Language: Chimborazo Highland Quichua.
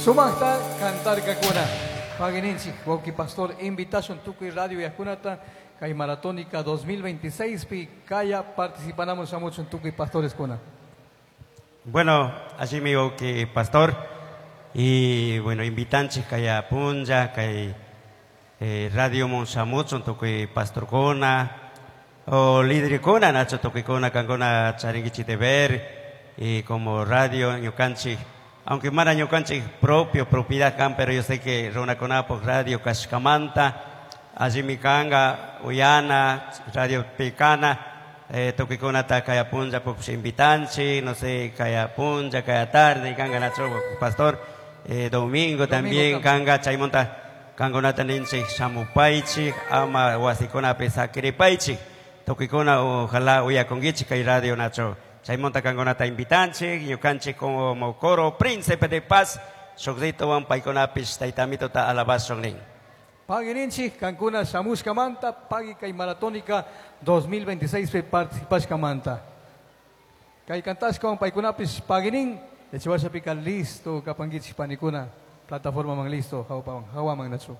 Sumaqta cantarkakuna. Pagininchik, wawqi pastor, invitación tukuy radio yakunata kay Maratónica 2026 pi kaya participanamos shamuchun tukuy pastores kuna. Bueno, allí mi que pastor y bueno, invitanchik kaya punlla kay radio mon shamuchun tukuy pastorkuna o líderkuna nacho tukuykuna kankuna charinkichik deber y como radio ñukanchik, aunque mana ñukanchik propio propiedad kan, pero yo sé que runakunapuk radio kashkamanta allimi kanka uyana radio picana tukuykunata kaya punlla puksh invitanchik, no sé, kaya punlla, kaya tarde kanka nacho pastor, domingo también kanka chaymunta kankunata ninchik shamupaychik ama wasikunapi sakiripaychik tukuykuna ojalá uyakunkichik kay radio nacho chaymunta kankunata invitanchik ñukanchik como coro Príncipe de Paz shukllituwan paykunapish taytamituta alabashun nin. Pagininchik kankuna shamushkamanta, pagi kay Maratónica 2026 pi participashkamanta. Kay kantashkawan paykunapish paginin, yachawashapika listo kapankichik panikuna, plataforma man listo, hawaman nachu.